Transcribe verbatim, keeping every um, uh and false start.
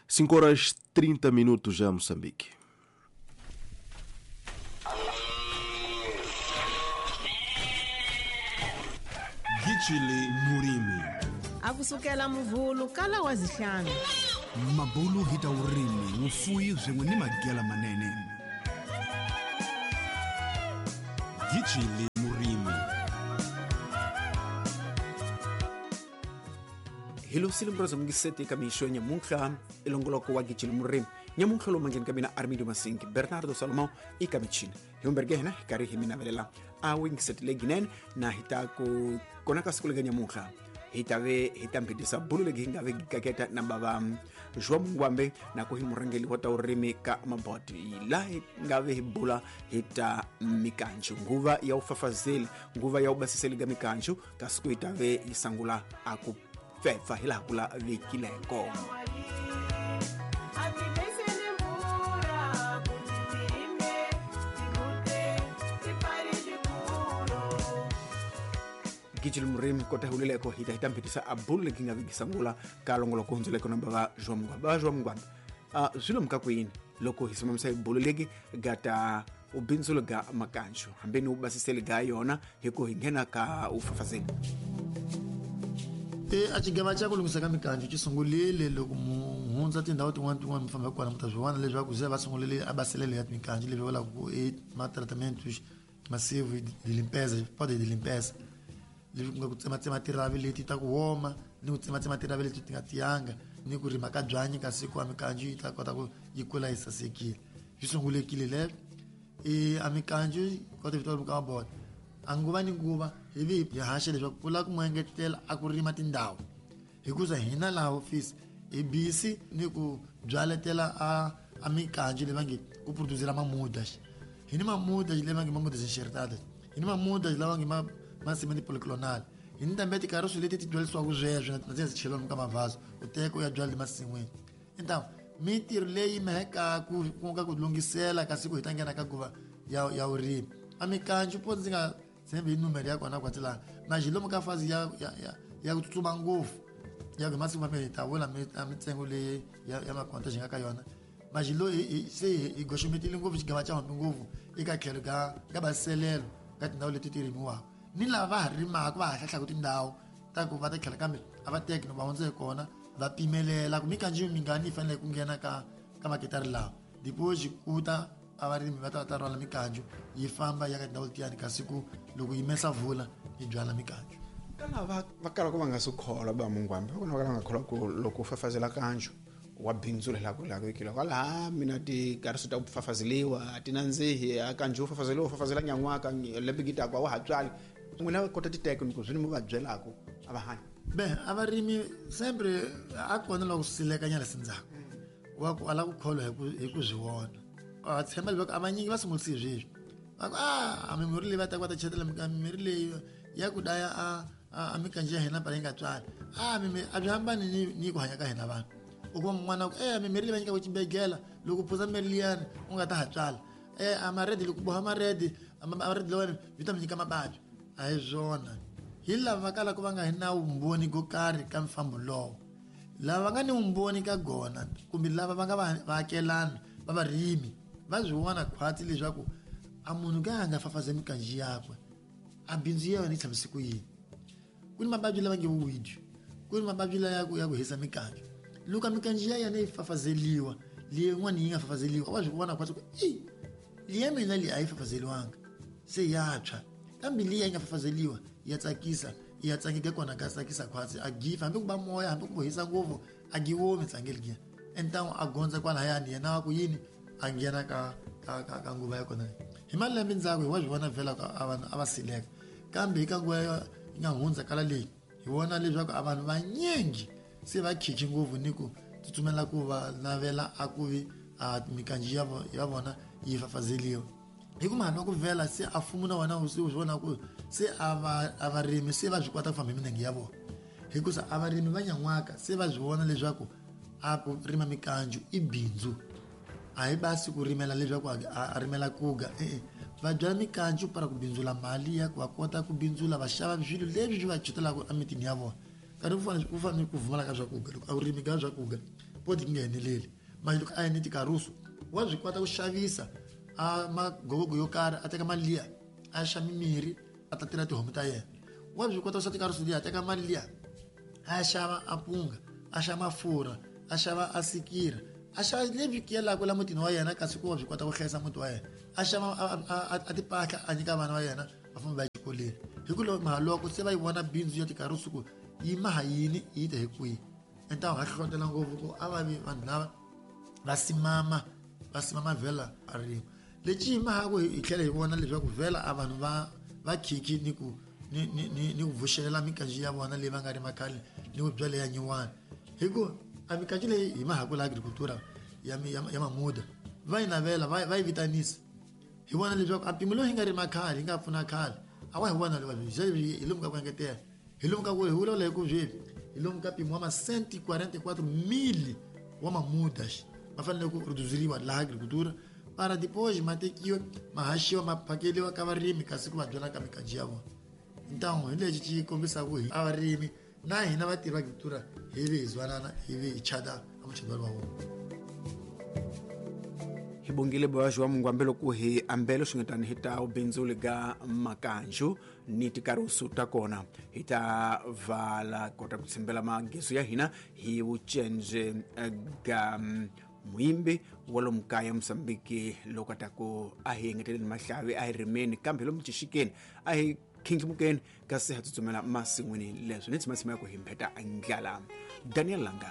cinco horas trinta minutos em Moçambique. Gichili Murimi. Akusukela muvulu kala wazihlanu. Mabulu hita urimi, ufuyi zwenwe ni magela manene. Gichili Murimi. Hilo silimroza mungisete kamisho nyamunhla ilongoloko wa Gichili Murimi. Nyamunhla lo manjeni kabina Armindo Masinki, Bernardo Salomão e Kamichina. Hiumbergehna hikari himinavelela a wingisete leginen na hitako konaka sikulega nyamunhla. Hitave hitampitisa bulu legi hingave gikaketa na baba João Mungwambe na kuhi murangeli wa taurimi ka maboti la ngave hibula hita mikanju nguva ya ufafazeli nguva ya ubasiseli ga mikanju kasiku itave isangula akufefa hila kula vikileko. Gichili Murimi kota hulileko hita hita mpitisa abulu kinga vigisangula kalongolo kunzuleko na baba João Mungwambe. Baba João Mungwambe uh, zwilo mkakwini loko hisimamisa ibulu legi gata ubinzulo ga makanjo hambeni ubasiseli ga yona hiko hingena ka ufafazeli. E a xigava xa ku lunghisa ka mikanjo xi sungulile loko muhundza tindhawu tin'wana tin'wana mi famba kona mi ta swi vona leswaku se va sungulile a baselele ya mikanjo leswi vulaka ku i ma-tratamentos massivo de limpeza pode de limpeza leswi ku nga ku tsematsema tiravi leti ta ku woma ni ku tsematsema tiravi leti ti nga tiyanga ni ku rima ka byanyi kasi ku a mikanjo yi ta kota ku yi kula yi sasekile. Swi sungulekile leswo i a mikanjo kota vito ka mabota a nguva ni nguva hi vi hi haxa leswaku ku lava ku mu engetela a ku rima tindhawu hikuza hina laha ofisi hi busy ni ku byaletela a a mikanjo leyi va nge ku producela mamuda hi ni mamuda leyi va nge mamuda enxertada hi ni mamuda lava nge ma ma polyclonal hi ni tambe tikariso leti ti byalisiwaka sweswo na ti cheliwa ka mavhazo u teka u ya byala emasin'wini. Então mintirho leyi meheka ku ku nga ku lunghisela kasi ku hi ta nghena ka nguva ya ya vurimi a mikanjo po ndzi nga tshembi hi numero ya kona kwatsi laha manje lomu ka fazi ya ya ya ya ku tsutsuma ngopfu ya ku masiku mambirhi hi ta vula mitsengo leyi ya ya makonta xi nga ka yona manje lo se hi goxometile ngopfu xigava xa hambi ngopfu eka tlhelo ka ka baselelo ka tindhawu leti ti rimiwaka ni lava va ha rimaka va ha hlahlaka tindhawu ta ku va ta tlhela kambe a va teki no va hundza hi kona va pimelela ku mikanjo mingani yi fanele ku nghena ka ka maketari lawa depois ku ta a varimi va ta va ta rhwala mikanjo yi famba ya ka tindhawu letiyani kasi ku loko yi mesa vula yi byala mikanjo. Ka lava va kalaka va nga swi kholwa ba Mungwambe va kona va kala nga kholwa ku loko u fafazela kanjo wa bindzula la ku la ku kilo kwala mina ti kariso ta ku fafazeliwa a ti nandzihi a kanjo u fafazeliwa u fafazela nyan'waka lembe gita kwa wa ha tswali n'wina va kota titeke ni ku swi ni mu va byelaka a va hanyi. Be a varimi sempre a kona loko silekanyana sindzhaku wa ku ala ku kholwa hi ku hi ku swi vona a tshemba leswaku a vanyingi va sungulisi sweswi va ku a mimirhi leyi va taka va ta chetela mimirhi leyi ya ku daya a a mikanjo ya hina pala yi nga tswali a mimi a byi hambani ni ni ku hanya ka hina vanhu u kuma mun'wana ku e mimirhi leyi va nyikaka xibedhlele loko u phuza mirhi liyani u nga ta ha tswala e a maredi loko boha maredi maredi lawani byi ta mi nyika mavabyi a hi swona hi lava va kalaka va nga hi na vumbhoni ko karhi ka mfambo lowo lava va nga ni vumbhoni ka gona kumbe lava va nga vaakelani va varimi va swi vona khwatsi leswaku a munhu ka a nga fafaza mikanjo yakwe a bindzu ya yona yi tshamise ku yini. Ku ni mavabyi lava nge vuwidi ku ni mavabyi la ya ku ya ku hisa mikanjo loko a mikanjo ya yena yi fafazeliwa leyin'wana yi nga fafazeliwa wa swi vona khwatsi ku i liya mina leyi a yi fafazeliwanga se ya tshwa kambe liya yi nga fafazeliwa ya tsakisa ya tsangeka kona ka tsakisa khwatsi a gifa hambi ku ba moya hambi ku hisa ngopfu a giwomi tsangeli giya entawu a gondza kwalahayani yena wa ku yini a nghena ka ka ka ka nguva ya kona hi malembe ndzhaku hi wa swi vona vhela a vanhu a va sileka kambe hi ka nguva yi nga hundza kala leyi hi vona leswaku a vanhu vanyingi se va khikhi ngopfu ni ku tsutsumela ku va navela a ku vi a mikanjo ya ya vona yi fafazeliwa hi ku mhani wa ku vhela se a fumu na wena se u swi vona ku se a va a varimi se va swi kota ku famba hi minenge ya vona hikusa a varimi va nyan'waka se va swi vona leswaku a ku rima mikanjo i bindzu a hi basi ku rimela leswaku a rimela kuga e-e va byala mikanjo para ku bindzula mali ya ku va kota ku bindzula va xava swilo leswi swi va chutelaka emitini ya vona nkarhi ku fanele ku fanele ku vumala ka swakudya loko a wu rimi ka swakudya podi yi nga ngheneleli mali loko a yi ni tikarusu wa byi kota ku xavisa a magogogo yo karhi a teka mali liya a xa mimirhi a ta tirha tihomu ta yena wa byi kota ku xa tikarusu liya a teka mali liya a xava a punga a xava mafurha a xava a sikira a xava lebyi kiyelaka la mutini wa yena kasi ku wa byi kota ku hlayisa muti wa yena a xava a tipahla a nyika vana va yena va famba va ya exikolweni hi ku loko se va yi vona bindzu ya tikarusu ku yi maha yini yi ta hi kwihi enta ha hlohlotela ngopfu ku a va vi vanhu lava va simama va simama vhela a rima lexi hi mahaku hi tlhela hi vona leswaku vhela a vanhu va va khikhi ni ku ni ni ni ni ku vuxelela mikanji ya vona leyi va nga rima khale ni ku byala ya nyuwani hi ku a mikanji leyi hi mahaku la agricultura ya ya mamuda va yi navela va va yi vitanisa hi vona leswaku a mpimo lowu hi nga rima khale hi nga pfuna khale a wa hi vona hi lomu ka ku engetela hi lomu ka ku hi vulavula hi ku sweswi hi lomu ka mpimo wa ma cento e quarenta e quatro mil wa mamudas ma fanele ku produziriwa laha agricultura para depois ma tekiwa ma haxiwa ma phakeliwa ka varimi kasi ku va byala ka mikanji ya vona então hi lexi xi kombisaka hi a varimi na hina vatirhi va agricultura hi vi hi zwanana hi vi hi chata a muchadwani wa vona hi bongile boya wa mungu ambelo ku hi ambelo swi nga tani hi ta ubindzuli ga makanju ni tikarusu ta kona hi ta vala kota ku tshimbela mageso ya hina hi vucenje ga muimbi wa lomu kaya Mosambiki loko ta ku a hi engeteleni mahlavi a hi rimeni kambe lomu xixikeni a hi khindlimukeni kasi ha tsutsumela masin'wini leswi ni tshimatsima ya ku hi mpheta ndlala. Daniel Langa.